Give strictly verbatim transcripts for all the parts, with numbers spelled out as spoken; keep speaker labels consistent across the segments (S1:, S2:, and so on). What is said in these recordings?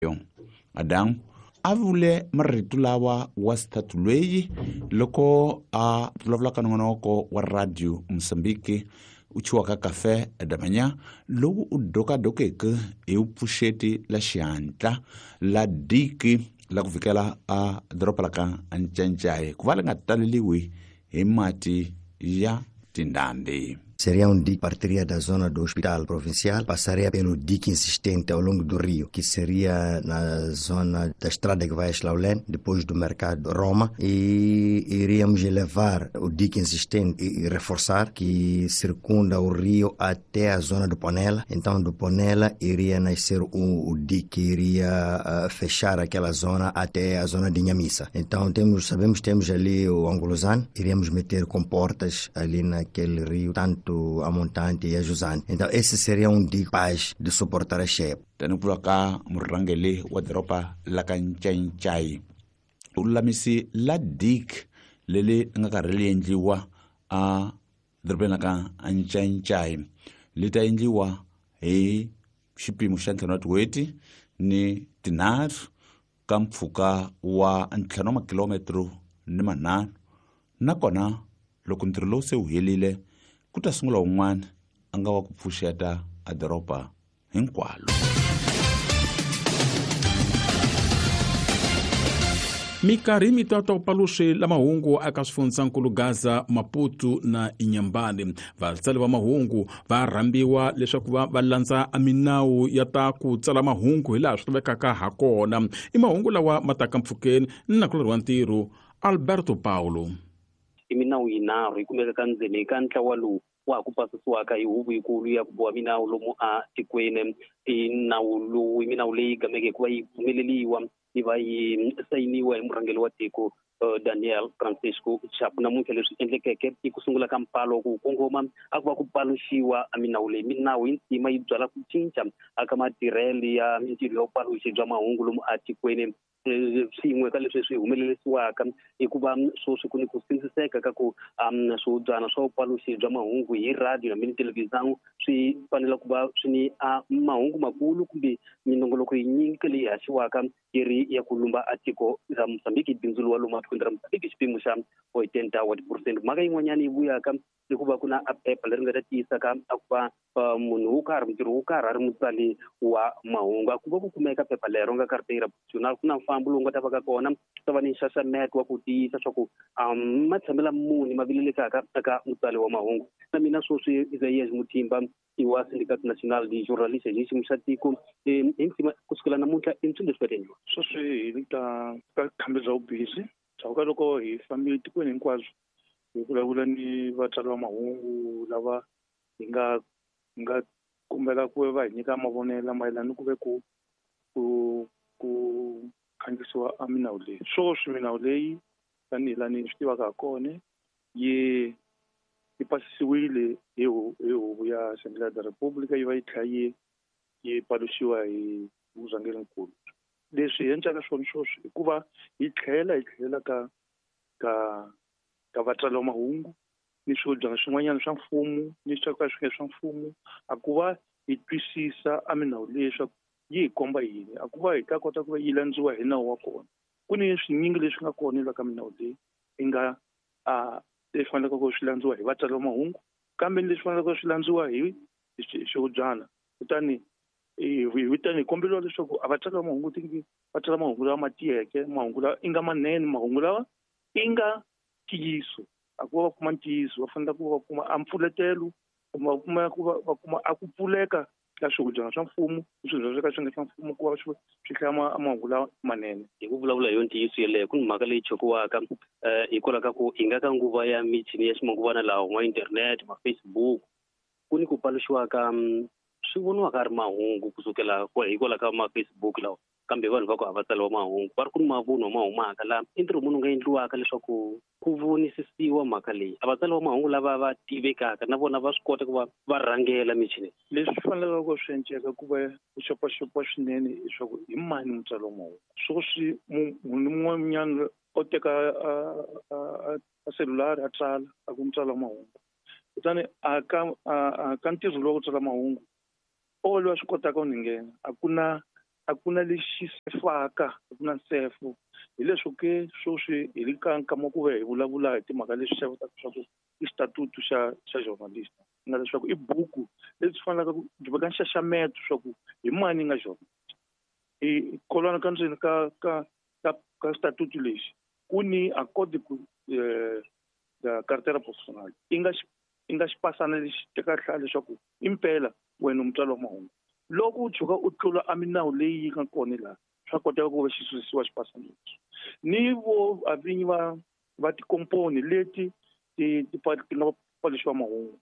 S1: Adamu a vule marito lawa wa xithathu lweyi loko a vulavula ka nongonoko wa radio Mozambique u chiwaka Café da Manhã lowu u dokadokeke hi vupfuxeti la xihatla la diki la ku vikela a doroba la ka Ncancai ku va li nga taleliwi hi mati ya tindhambi.
S2: Seria um dique que partiria da zona do hospital provincial, passaria pelo dique insistente ao longo do rio, que seria na zona da estrada que vai a Xlaulén, depois do mercado Roma, e iríamos elevar o dique insistente e reforçar, que circunda o rio até a zona do Ponela. Então, do Ponela iria nascer o, o dique que iria uh, fechar aquela zona até a zona de Inhamissa. Então, temos, sabemos que temos ali o Angolozano, iríamos meter comportas ali naquele rio, tanto a montante e a jusante. Então esse seria um dique capaz de suportar a cheia.
S1: Tani ku ka murhangeri wa doroba la ka Ncancai u lulamisi la dique leri nga karhi ri endliwa a dorobeni la ka Ncancai li ta endliwa hi xipimo xa ntlhanu wa tin'hweti ni tinharhu ka mpfhuka wa ntlhanu wa makilometro ni manharhu, nakona loko ntirho lowu se wu helile ku ta sungula wun'wana a nga wa ku pfuxeta a doroba hinkwalo.
S3: Minkarhi mitata upaluxe la mahungu aka swifundzankulu Gaza, Maputo na Inhambane. Vatsali va mahungu va rhambiwa leswaku va va landza minawu ya ta ku tsala mahungu hilaha swi lavekaka ha kona. I mahungu lawa ma taka mpfhukeni na nakulorhi wa ntirho Alberto Paulo.
S4: I minawu yinharhu yi kumeka ka ndzeni ka ntlawa lowu wa ha ku pasisiwaka hi huvo yikulu ya ku boha minawu lomu a tikweni. I nawu lowu i minawu leyi gameke hikuva yi pfumeleliwa yi va yi sayiniwa hi murhangeri wa tiko Daniel Francisco Chapo. Namuntlha leswi endlekeke i ku sungula ka mpalo ku kongoma a ku va ku paluxiwa a minawu leyi. Minawu yi ntima yi byala ku cinca aka matirhelo ya mintirho ya vupaluxi bya mahungu lomu a tikweni. Swin'we ka leswi swi humelerisiwaka i ku va sweswi ku ni ku sindziseka ka ku um swihubyana swa vupaluxi bya mahungu hi radio hambi ni televhizão swi fanele ku va swi ni a mahungu makulu kumbe minongoloko yinyingi leyi haxiwaka yi ri ya ku lumba a tiko ra Mozambique, bindzu wa lomu atikweni ra Mozambique xipimo xa oitenta wa tiphurosente. Mhaka yin'wanyana yi vuyaka i ku va ku na a phepha leri nga ta tiyisa ka a ku va munhu wo karhi mutirhi wo karhi a ri mutsali wa mahungu. A ku va ku kumeka phepha lero nga carteira profissional, ku na mfambo lowu nga ta va ka kona, ku ta va ni nxaxameto wa ku tiyisa swa ku matshamela muni ma vilelekaka eka mutsali wa mahungu. Na mina sweswi Isaías Mutimba i wa Sindicato Nacional de Jornalistas hi xiyimo xa tiko hi ntima kusukela namuntlha i swilo leswi nga ta endliwa.
S5: Sweswi hi ta ka khambi bya vubisi bya ka loko hi fambile tikweni hinkwabyo hi vulavula ni vatsari va mahungu lava hi nga hi nga kombela ku va hi nyika mavonelo mayelana ni ku ve ku ku ku khandziyisiwa a minawu leyi. Sweswi minawu leyi tanihi laha ni swi tivaka ha kona yi yi pasisiwile hi hi huvo ya Assembleia da República, yi va yi tlhela yi yi paluxiwa hi murhangerinkulu. Leswi hi endlaka swona sweswi i ku va hi tlhela hi tlhela ka ka ka vatsari va mahungu ni swihubyana swin'wanyana swa mfumo ni swa ka swi nga swa mfumo, a ku va hi twisisa a minawu leyi leswaku yi hi komba yini, a ku va hi ta kota ku va yi landziwa hi nawu wa kona. Ku ni swinyingi leswi nga kona la ka minawu leyi yi nga a leswi faneleke ku swi landziwa hi vatsari va mahungu, kambe leswi faneleke swi landziwa hi swihubyana. Kutani hi tani hi komberiwa leswaku a vatsari va mahungu tingi va tsala mahungu lawa ma tiyeke, mahungu lawa i nga manene, mahungu lawa i nga ntiyiso. A ku va va kuma ntiyiso, va fanele ku va va kuma a mpfuletelo kumbe va kuma ku va va kuma a ku pfuleka ka swihubyana swa mfumo ni swihubyana swo ka swi nga swa mfumo ku va swi swi hlaya mahungu lawa manene.
S4: Hi ku vulavula hi yo ntiyiso yeleyo, ku ni mhaka leyi chokiwaka um hikwalaho ka ku hi nga ka nguva ya michini ya ximanguvana lawa ma internet, ma Facebook, ku ni ku paluxiwaka swi voniwaka a ri mahungu kusukela hikwalaho ka ma Facebook lawa, kambe vanhu va ku a va tsariwa mahungu va ri ku ni mavunwa ma humaka laha. I ntirho munhu nga endliwaka leswaku ku vonisisiwa mhaka leyi, a vatsari va mahungu lava va tivekaka na vona va swi kota ku va va rhangela michini.
S5: Leswi faneleke ku swi enceka ku va ku xopaxopiwa swinene leswaku hi mani mutsari wa mahungu. Sweswi munhu un'wanyana o teka a selulari a tsala a ku mutsari wa mahungu, kutani a ka a ka ntirho lowu wa ku tsala mahungu o loyi a swi kotaka ku ni nghena, a ku na A ku na lexi sefaka, a ku na nsefo. Hi leswo ke sweswi hi le ka nkama ku ve hi vulavula hi timhaka leswi xavutaka swa ku i xitatutu xa xa journalist, nga leswaku i buku lebyi fanelaka ku byi veka nxaxameto swa ku hi mani nga journalist. I kolwana ka ndzeni ka ka ka ka xitatutu lexi ku ni accord ku eh carteira profissional i nga i nga xipasana lexi teka hlaya leswaku impela wena mutswari wa mahungu. Loko u tshuka u tlula a minawu leyi yi nga kona laha, swa koteka ku va xi susiwa xipasana lexi. Ni vo a vinyi va va tikomponi leti ti ti ti nga paluxiwa mahungu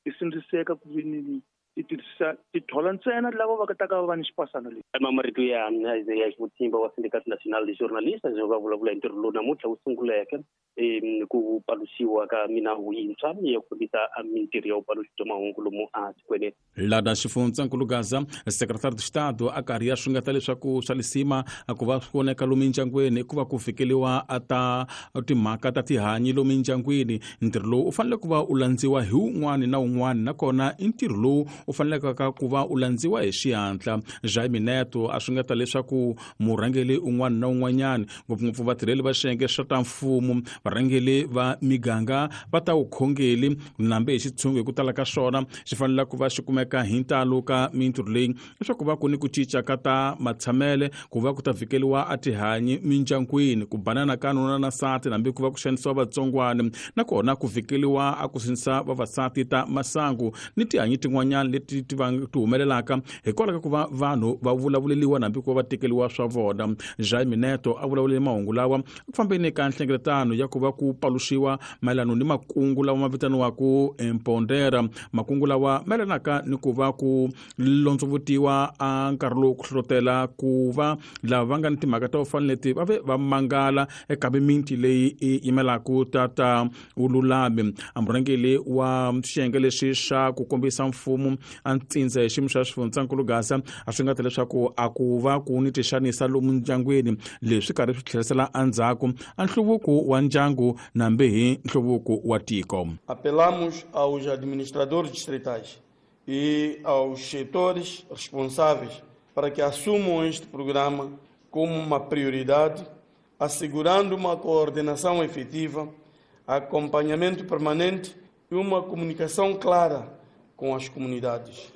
S5: ti sindziseka ku vi ti tirhisa ti thola ntsena lava va ta ka va ni xipasana lexi.
S4: Marito ya Isaiah Xivutimba wa Sindicato Nacional de Jornalistas va vulavula hi ntirho lowu namuntlha wu sunguleke ku paluxiwa ka minawu yintshwa ya ku fambisa mintirho ya vupaluxi bya mahungu lomu a tikweni.
S3: Lada xifundzankulu Gaza, secretário de Estado a karhi ya swingata leswaku swa lisima ku va swi voneka lomu mindyangwini ku va ku fikeliwa a ta timhaka ta tihanyi lomu mindyangwini. Ntirho lowu u fanele ku va u landziwa hi wun'wani na wun'wani, nakona i ntirho lowu u faneleke ku va u landziwa hi xihatla. Jaime Neto a swingata leswaku murhangeri un'wana na un'wanyana, ngopfungopfu vatirheli va xiyenge xa ta mfumo, varhangeri va miganga va ta vukhongeri nambe hi xitshungu hi ku tala ka swona xi fanele ku va xi kumeka hi ntalo ka mintirho leyi leswaku va ku ni ku cinca ka ta matshamele, ku va ku ta vhikeliwa a tihanyi mindyangwini, ku banana ka nuna na nsati nambe ku va ku xanisiwa vatsongwana, nakona ku vhikeliwa a ku sindzisa vavasati ta masangu ni tihanyi tin'wanyana leti ti ti humelelaka hikwalaho ka ku va vanhu va vulavuleliwa nambe ku va va tekeliwa swa vona. Jaime Neto a vulavulele mahungu lawa ku fambeni ka nhlengeletano ya ku va ku paluxiwa mayelana ni makungu lawa ma vitaniwaka Empondera, makungu lawa mayelanaka ni ku va ku londzovutiwa a nkarhi lowu ku hlohlotela ku va lava va nga ni timhaka ta ku fana leti va ve va mangala eka mimiti leyi yi yimelaka ta ta vululami. A murhangeri wa xiyenge lexi xa ku kombisa mfumo a ntsindza hi xiyimo xa xifundzankulu Gaza a swi nga ta leswaku a ku va ku ni tixanisa lomu ndyangwini, leswi karhi swi tlherisela endzhaku a nhluvuko wa ndyangu nambe hi nhluvuko wa tiko.
S6: Apelamos aos administradores distritais e aos setores responsáveis para que assumam este programa como uma prioridade, assegurando uma coordenação efetiva, acompanhamento permanente e uma comunicação clara com as comunidades.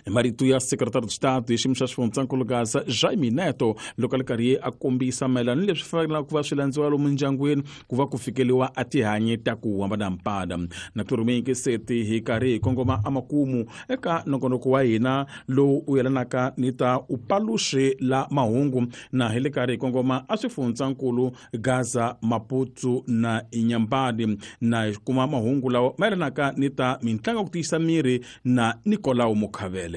S3: Marito ya secretário de Estado e xiyimo xa xifundzankulu Gaza Jaime Neto loko a ri karhi a kombisa mayelana ni leswi fanelaka ku va swi landziwa lomu ndyangwini ku va ku fikeliwa a tihanyi ta ku hambanahambana. Na ku seti hi karhi hi kongoma amakumu eka nongonoko wa hina lowu u yelanaka ni ta upaluxi la mahungu, na hi le karhi hi kongoma a swifundzankulu Gaza, Maputo na Inhambane, na hi kuma mahungu lawa mayelanaka ni ta mintlangu ya ku tiyisa miri na Nicolau Mukhavele.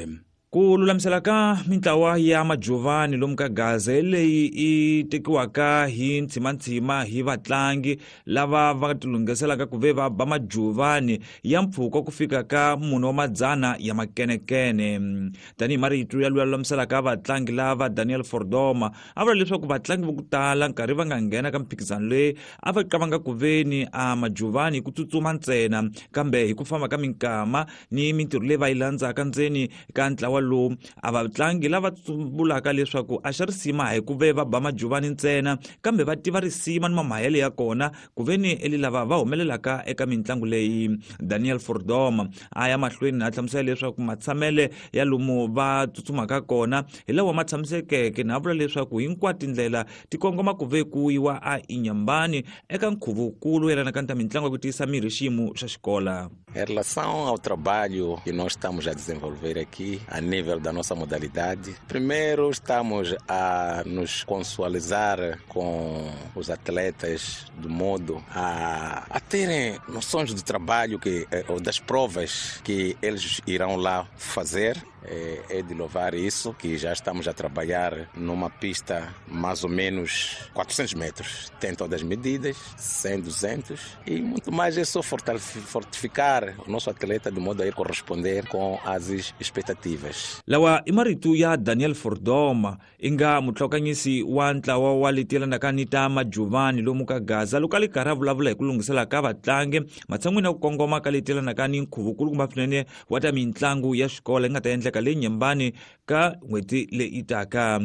S7: Ku lulamisela ka mintlawa ya majuvani lomu ka Gaza leyi i tekiwaka hi ntsimantsima hi vatlangi lava va tilunghiselaka ku ve va ba majuvani ya mpfhuka ku fika ka mune wa madzana ya makenekene. Tanihi marito ya luya lulamiselaka vatlangi lava Daniel Fordoma a vula leswaku vatlangi vo ku tala nkarhi va nga nghena ka mphikizano leyi a va qavanga ku veni a majuvani ku tsutsuma ntsena, kambe hi ku famba ka minkama ni mintirho leyi va yi landzaka ndzeni ka ntlawa lowu a vatlangi lava vulaka leswaku a xa risima hi ku ve va ba majuvani ntsena, kambe va tiva risima ni mamahele ya kona ku ve ni eli lava va humelelaka eka mitlangu leyi. Daniel Fordoma a ya mahlweni a hlamusela leswaku matshamele ya lomu va tsutsumaka kona hi lawa ma tshamisekeke, na vula leswaku hinkwato tindlela ti kongoma ku ve ku yiwa a Inhambane eka nkhuvukulu yelanaka ni ta mitlangu ya ku tiyisa miri xiyimo xa xikola.
S8: Em relação ao trabalho que nós estamos a desenvolver aqui a nível da nossa modalidade, primeiro estamos a nos consualizar com os atletas de modo a, a terem noções do trabalho que, ou das provas que eles irão lá fazer. É, é de louvar isso, que já estamos a trabalhar numa pista mais ou menos quatrocentos metros. Tem todas as medidas, cem, duzentos e muito mais. É só fortificar o nosso atleta de modo a ir corresponder com as expectativas.
S7: Lawa i marito ya Daniel Fordoma inga mutlhokanyisi wa ntlawa wa leti yelanaka ni ta majuvani lomu ka Gaza loko a li karhi a vulavula hi ku lunghisela ka vatlangi matshan'wini ya ku kongoma ka leti yelanaka ni nkhuvukulu kumbe swinene wa ta mitlangu ya xikolo yi nga ta endleka endleka le Nyembani ka n'hweti leyi taka.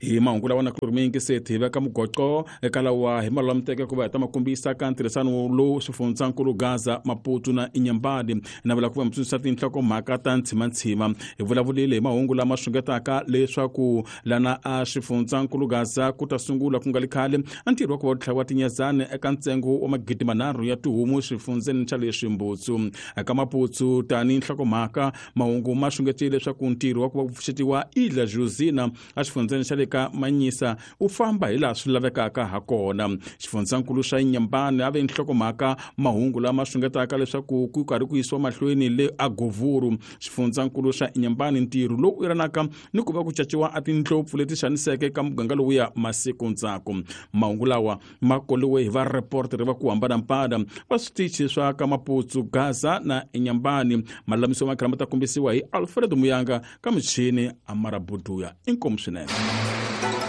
S3: Hi mahungu lawa na kulumiki se hi veka mugoqo eka lawa hi malulamuteke ku va hi ta makombisa ka ntirhisano lowu swifundzankulu Gaza, Maputo na Inhambane. Na vula ku va mitsundzuxa tinhlokomhaka ta ntshimantshima. Hi vulavulile hi mahungu lama xungetaka leswaku lana a xifundzankulu Gaza ku ta sungula ku nga li khale a ntirho wa ku va tlhaviwa tinyezani eka ntsengo wa magidi manharhu ya tihomu xifundzeni xa le Ximbutsu. Eka Maputo tani nhlokomhaka mahungu ma xungetile leswaku ntirho wa ku va ku pfuxetiwa Ilha Josina a xifundzeni xa le ka Manyisa u famba hi laha swi lavekaka ha kona. Xifundzankulu xa Inhambane a ve nhlokomhaka mahungu lama xungetaka leswaku ku karhi ku yisiwa mahlweni le Agovuru. Xifundzankulu xa Inhambane ntirho lowu yelanaka ni ku va ku caciwa a tindlopfu leti xaniseke ka muganga lowuya masiku ndzhaku. Mahungu lawa ma koliwe hi va reporter va ku hambanahambana va switichi swa ka Maputo, Gaza na Inhambane. Malulamiso ma ma ta kombisiwa hi Alfred Muyanga ka michini Amara Buduya. Inkomu swinene.